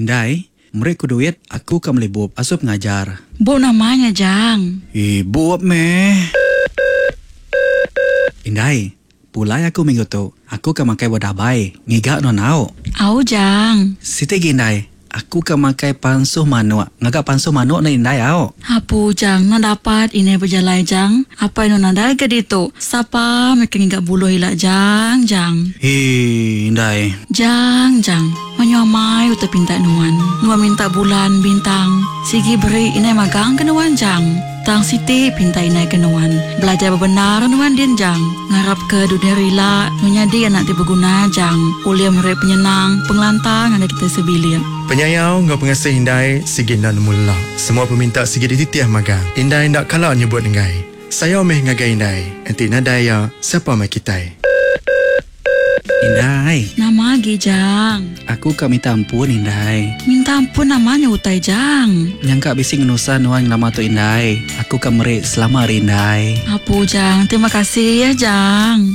Indai, meri ku duit, aku ka meli bup asuh pengajar. Bup nama nya Jang? Ih, bup meh. Indai, pulai aku minggu tu, aku ka makai buah dabai, ngiga nuan au. Au Jang. Siti gi indai, aku ka makai pansuh manuk, ngaga pansuh manuk ne indai au. Apu Jang, nuan dapat indai bejalai Jang, apai nuan nadai ga ditu, sapa meh ke ngiga buluh ila Jang, Jang. Hii indai. Jang, Jang. Mayuh amai utai pinta nuan. Nuan minta bulan, bintang, sigi beri indai magang ke nuan Jang. Tang siti pinta indai ke nuan. Belajar bebendar nuan din Jang. Ngarap ke dudi hari ila nuan nyadi anak ti beguna Jang. Ulih meri penyenang, pengelantang ngagai kitai sebilik. Penyayau enggau pengasih indai sigi enda nemu lelak. Semua peminta sigi dititih magang. Indai enda kala nyebut enggai. Sayau meh ngagai indai. Enti nadai iya, sapa meh kitai. Indai. Nama agi Jang? Aku ka minta ampun indai. Minta ampun nama nya utai Jang? Nyangka bisi ngenusah nuan ngelama tu indai. Aku ka meri selama hari indai. Apu Jang, terima kasih ya Jang.